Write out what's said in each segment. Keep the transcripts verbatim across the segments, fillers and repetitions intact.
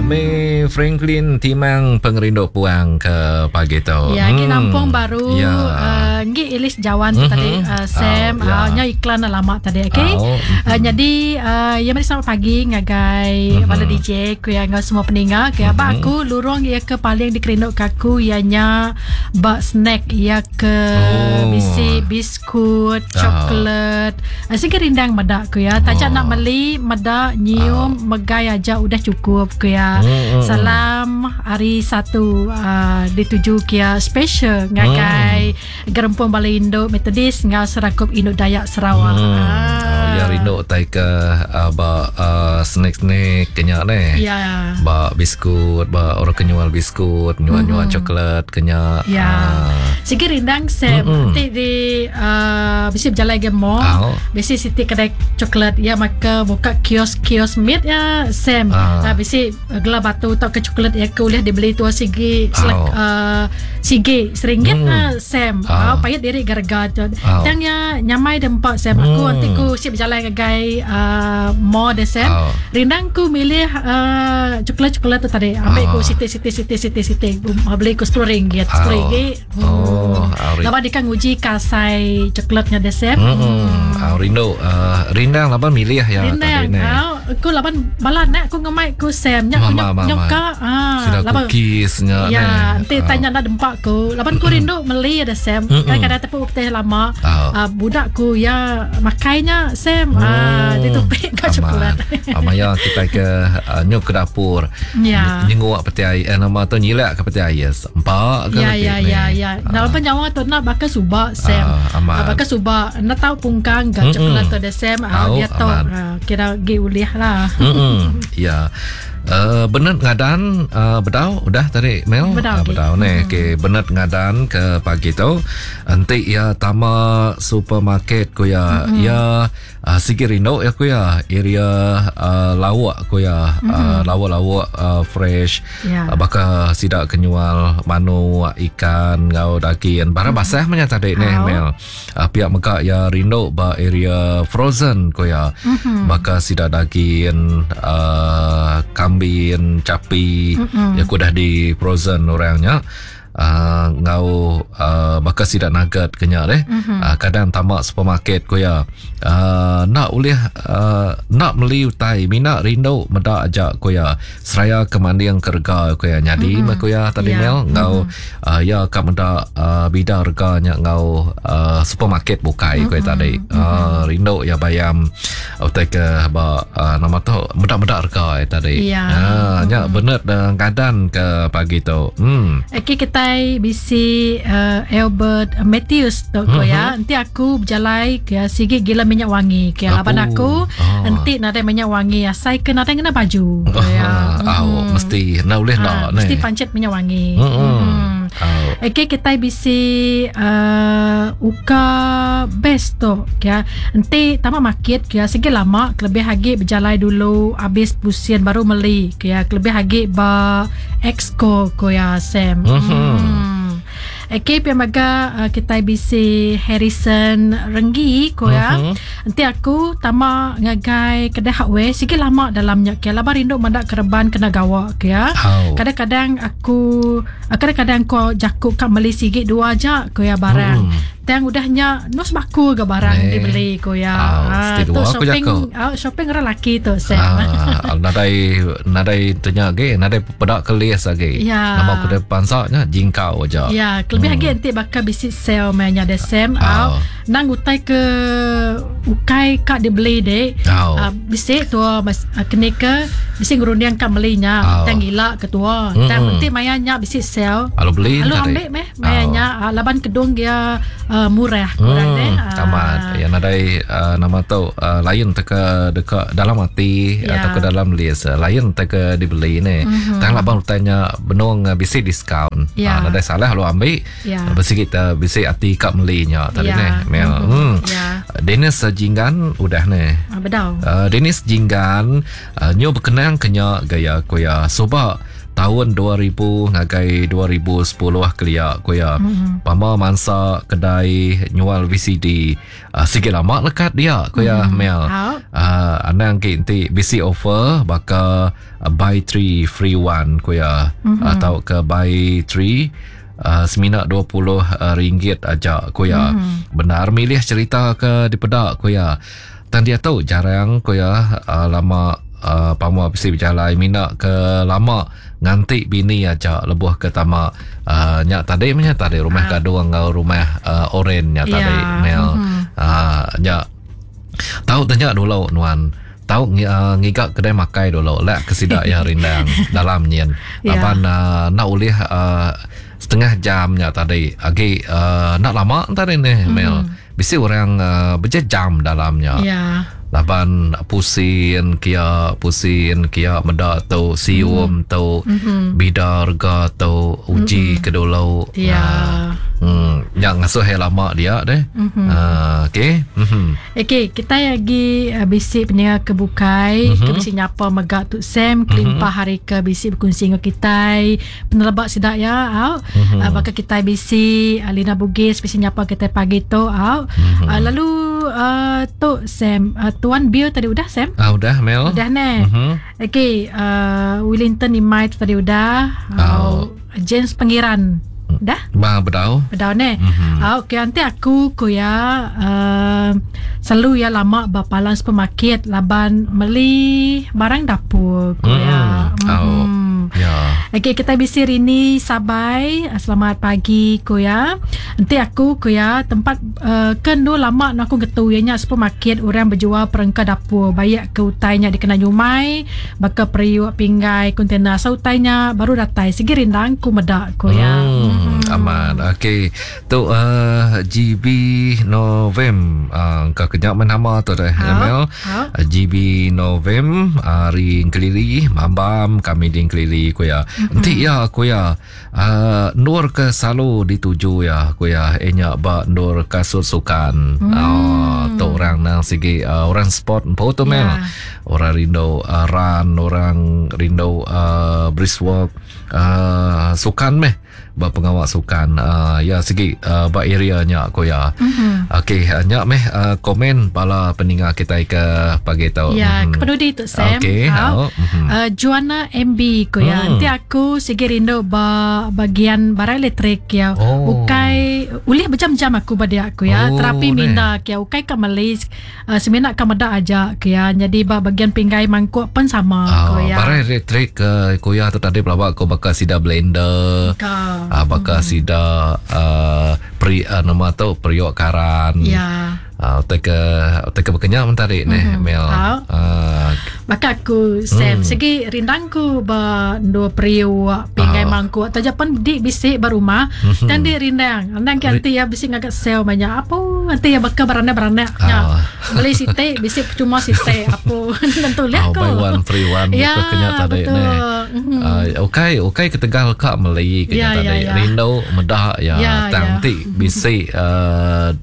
May Franklin Timang Pengerindu Puang ke pagi tu. Ya, hmm. nampung baru ya. Uh, ngi Elis Jawan tu mm-hmm. tadi uh, Sam oh, ya. uh, nya iklan dah lama tadi okey. Oh. Uh, jadi uh, ya mari selamat pagi ngagai mm-hmm. bala D J ku yang ngau semua peninga ke mm-hmm. abang aku lurung ia ke paling dikerinduk ke aku ianya bak snack ia ke oh. bisi biskut, coklat. Oh. Uh, sigi rindang medak ku ya. Tajak oh. nak beli medak nyium oh. megai aja udah cukup ku ya. Mm-hmm. Salam hari satu uh, dituju kia special ngagai mm. Gerempung Balai Induk Methodist ngau Serakup Induk Dayak Sarawak. Mm. Ah. Oh, ya rindu tai ke uh, ba uh, snack-snack kenyak ne. Ya. Ba biskut, ba orang kenyual biskut, nyual-nyual mm. coklat kenyak. Ya. Ah. Sigi rindang Sam mm-hmm. nanti di uh, bisi berjalan ke mall, oh. bisi siti kedai coklat ya maka buka kios-kios meat ya Sam. Ah. Uh, bisi gelar batu atau ke coklat ya ke boleh dibeli tu sigi selek, oh. uh, sigi seringgit mm. uh, Sam. Oh. Uh, payat diri gara-gara tu. Oh. Tang ya nyamai dempak Sam. Aku mm. nanti ku siap berjalan ke gai uh, mall de Sam. Oh. Rindang ku milih uh, coklat-coklat tu tadi. Ambil oh. ku siti siti siti siti siti beli ku sepuluh ringgit. sepuluh ringgit. Oh. Oh, laban dia kan nguji kasai coklatnya de Sam. Hmm. Hmm. Rindu uh, rindang laban milih ya rindang. Tadi ni. Aku laban balan nak aku ngemai ku Sam nya aku nyoka ah laban cookiesnya ya nanti tanya nak dempak ku laban ku rindu meli ada Sam. Kadang-kadang tepuk putih lama uh, budak ku ya makainya Sam ah dia tupik ka coklat. Amaya kita ke uh, nyuk ke dapur. Ya. Nyenguk peti air eh, nama tu nyilak ke peti air. Empak ke ya ya ya ya. Nah, nyawa tu nak bakal subak Sam. Uh, bakal subak nak tahu pungkang gak coklat tu ada Sam. Uh, dia tahu uh, kira gi ulih lah. Ya. Uh, benet ngadan uh, bedau udah tadi Mel bedau, uh, bedau ni okey benet ngadan ke pagi tu enti ya tama supermarket ku ya mm-hmm. ya uh, sigi rindu ya ku ya area uh, lawak ku ya mm-hmm. uh, lawak-lawak uh, fresh yeah. uh, baka sidak kenyual manu ikan ngau daging barang mm-hmm. basah menya tadi ni Mel uh, pihak mega ya rindu ba area frozen ku ya mm-hmm. baka sidak daging uh, kambing, capi, mm-hmm. ya aku dah di frozen orangnya. Uh, ngau uh, bakal sidak nugget kenyak deh. Mm-hmm. Uh, kadang tamak supermarket ku ya. Uh, nak boleh uh, nak beli utai minat rindu medak ajak ku ya. Seraya kemanding kerga ku ya. Jadi mm-hmm. ku ya tadi yeah. Mel ngau mm-hmm. uh, ya ka medak uh, bida reganya ngau uh, supermarket bukai mm-hmm. ku ya tadi. Mm-hmm. Uh, rindu ya bayam utai ke ba uh, nama tu medak-medak rega tadi. Yeah. Uh, mm-hmm. nya bener dan keadaan ke pagi tu. Hmm. Okey kita bisi uh, Albert Matthews tu mm-hmm. ya. Nanti aku berjalai ke sigi gila minyak wangi ke laban aku oh. Nanti nadai minyak wangi asai ke nadai kena baju oh, ya. Oh, mm. mesti nak boleh ha, nak mesti pancet minyak wangi. Mm-hmm. Mm. Oh. Okey kita bisi uh, uka best tu ya. Nanti tamak market ya sigi lama kelebih hagi berjalai dulu habis pusing baru meli ya. Kelebih hagi ba exco ko ya Sam. Mm-hmm. Hmm. Okey, pemaga uh, kita bisi Harrison Renggi ko ya. Mm-hmm. Nanti aku tama ngagai kedai hardware sikit lama dalamnya ke laban rindu mendak kereban kena gawak ke ya. Oh. Kadang-kadang aku kadang-kadang ko jakuk kat meli sikit dua aja ko ya barang. Mm. Tang udahnya nus baku ke barang eh. dibeli ko ya. Oh, Ah, tu shopping oh, shopping orang laki tu Sam. Ah, nadai nadai tanya ge, nadai pedak kelis lagi. Ya. Nama aku pansaknya jingkau aja. Ya, lebih hmm. lagi nanti bakal bisi sale mainnya ada Sam. Oh. Nang utai ke ukai kak dibeli dek. Oh. Uh, bisi tua mas uh, kene ke bisi ngerundiang kak belinya. Oh. Tang gila ketua. Mm-hmm. Tang penting mayanya bisi sale. Alu beli Alu tadi. ambil meh mayanya oh. uh, laban kedung dia uh, murah kurang hmm, deh. Tamat. Uh. Ya nadai uh, nama tu uh, lain teka dekat dalam hati yeah. atau ke dalam list lain teka dibeli ni. Mm-hmm. Tang laban utainya benung uh, bisi diskaun. Yeah. Uh, nadai salah alu ambil. Yeah. Besi kita bisi hati kak melinya tadi yeah. ni Mel. Mm-hmm. Hmm. Yeah. Dennis Jinggan udah ni. Ah, bedau. Uh, Dennis Jinggan uh, nyu berkenang kenya gaya koya subak Tahun dua ribu ngagai dua ribu sepuluh kelia ku ya. Mm-hmm. Pama mansa kedai nyual V C D uh, sikit lama lekat dia ku ya mm-hmm. Mel. Uh, anang ki enti bisi offer baka uh, buy three free one ku ya mm-hmm. atau ke buy three Uh, semina dua puluh ringgit aja ku ya. Mm-hmm. Benar milih cerita ke dipedak ku ya. Tan dia tu jarang ku ya uh, lama uh, pama bisi berjalai mina ke lama nganti bini aja lebuh ke tama uh, nyak tadi nya tadi rumah uh. gadung enggau rumah uh, oren nya tadi yeah. Mel. Mm-hmm. Uh, nyak tahu tanya dulu nuan tahu uh, ngigak kedai makai dulu lek ke sidak ya rindang dalam nyen yeah. Laban uh, nak ulih uh, setengah jamnya tadi agi uh, nak lama tadi ni mm. Mel bisi orang uh, berjam dalamnya yeah. Laban pusin kia pusin kia medak tu sium mm. tu mm-hmm. bida rega tu uji mm-hmm. ke dulu ya yeah. Hmm, yang ngasuh he lama dia deh. Mm-hmm. Uh, okey. Mhm. Okey, kita lagi uh, bisi punya kebukai, mm-hmm. ke bisi nyapa megak tu Sam kelimpah mm-hmm. hari ke bisi berkongsi dengan kita penelebak sidak ya au. Mm-hmm. Uh, bakal kita bisi Alina Bugis bisi nyapa kita pagi tu au. Mm-hmm. Uh, lalu uh, tu Sam uh, Tuan Bill tadi udah Sam? Ah udah Mel. Udah ne. Mm-hmm. Okey, uh, Wellington Imai tadi udah. Uh, James Pengiran dah? Bah bedau. Bedau ne. Mm-hmm. Ah okey nanti aku ku ya uh, selalu ya lama bapalan supermarket laban beli barang dapur ku mm. ya. Mm. Oh. Ya. Okey kita bisi Rini Sabai. Selamat pagi ku ya. Nanti aku ku ya tempat uh, kendo lama nak aku getu ya nya supermarket orang berjual perengka dapur bayak ke utainya dikena nyumai baka periuk pinggai kontainer sa utainya baru datai segi rindang ku medak ku ya. Mm. Hmm, aman. Okey. Tu uh, G B Novem uh, kau kenyak nama tu dah Mel. Uh, G B Novem hari uh, Kelili mambam kami di Kelili ku ya. Enti ya ku ya uh, nur ke selalu dituju ya ku ya enya ba nur kasut sukan. Hmm. Oh, tu orang nang sigi uh, orang sport empo tu Mel. Yeah. Orang rindu uh, run, orang rindu uh, brisk walk, uh, sukan meh. Ba pengawal sukan uh, ya segi uh, ba area nya ko ya. Mm-hmm. Okey nya meh uh, komen bala peninga kita ke pagi tu. Ya mm-hmm. Kepada tu Sam. Okey. Oh. Mm-hmm. Uh, Juana M B ko ya. Mm. Nanti aku segi rindu ba bagian barang elektrik ya. Oh. Ukai ulih berjam-jam aku pada aku ya. Oh, terapi minda ya ukai ka Malaysia uh, semina ka medak aja ko ya. Jadi ba bagian pinggai mangkuk pun sama oh, ko ya. Barang elektrik uh, ko ya tu tadi pelawak ko bakal sida blender. Ka. Ah, bakal hmm. sida uh, pri uh, nama tu periuk karan. Ya. Ah, uh, teka teka berkenyang mentari mm-hmm. ni Mel. Ah. Uh, Maka aku Sam hmm. segi rindangku ba dua periuk pinggai uh. mangkuk tajapan di bisi ba rumah mm-hmm. dan di rindang. Andang nanti ya bisi ngagak sel banyak apa nanti ya bakal beranak-beranak nya. Uh. Beli site bisi cuma site apa tentu lihat oh, ko. Buy one free one ya, gitu kenyang tadi ni. Mm-hmm. Uh, okey okey ketegal kak Melayu kenyang ya, tadi. Ya, ya. Rindu medah ya, ya tang ya. Ti bisi uh,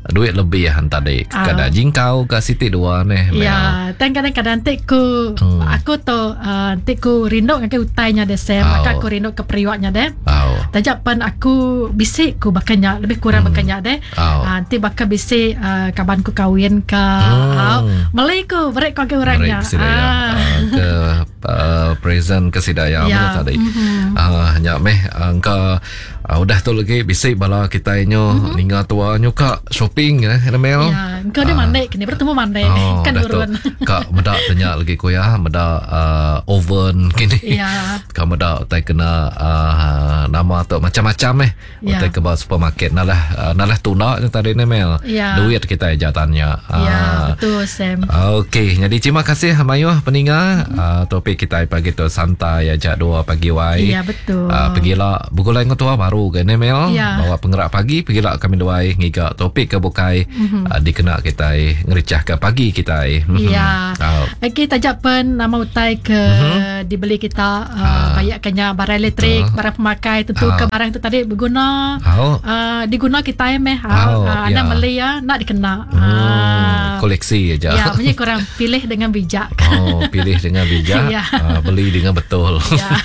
duit lebih ya tadi. Kadang jingkau ke siti dua ni. Ya, tan kadang-kadang tik ku hmm. aku tu uh, tik ku rindu ngake utainya de Sam, oh. maka aku rindu ke periwaknya de. Oh. Tajapan aku bisik ku bakanya lebih kurang hmm. bakanya de. Oh. Uh, nanti bakal bisik uh, kaban ku kawin ke hmm. uh, Malay ku berik ku ke orangnya. Berik ah. uh, ke uh, present ke sidaya ya. tadi. Mm-hmm. Ah uh, nyak meh angka uh, udah tu lagi bisik bala kita nyo mm-hmm. ninga tua nyo ka shopping ya Mel. Ya, engkau dia uh, mandek kini bertemu mandek oh, kan urun. Kak medak tanya lagi ku ya, medak uh, oven kini. Ya. Kak medak tai kena uh, nama tu macam-macam eh. Ya. Utai ke supermarket nalah uh, nalah tuna tadi ni Mel. Ya. Duit kita aja tanya. Ya, uh, betul Sam. Okey, jadi terima kasih mayuh peninga mm-hmm. uh, topik kita pagi tu santai aja dua pagi wai. Ya, betul. Uh, pergilah bergulai dengan tua baru ke ni Mel. Ya. Bawa penggerak pagi pergilah kami duai ngiga topik ke bukai mm-hmm. uh, dikena kita ngericah ke pagi kita. Ya. Oh. Okey, tajak pen nama utai ke mm-hmm. dibeli kita uh, uh, bayarkannya barang elektrik, uh, barang pemakai tentu uh, ke barang itu tadi berguna oh. uh, diguna kita meh. Oh, uh, anda ya. beli ya nak dikena. Hmm. Uh. Koleksi aja. Ya, punya kurang pilih dengan bijak. Oh, pilih dengan bijak, Ya. uh, beli dengan betul. Ya.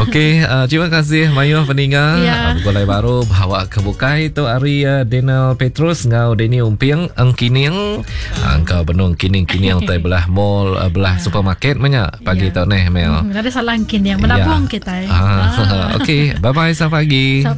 Okey, uh, terima kasih mayuh peninga. Ya. Uh, Begulai baru bawa ke bukai tu hari uh, Daniel Petrus ngau Danny Umping engkining. Uh, engkau benung kining-kining tai belah mall uh, belah supermarket banyak pagi Ya. tu neh Mel. Hmm, ada salah kining menabung Ya. kita. Eh. Ah, okey, bye bye sampai pagi. Sampai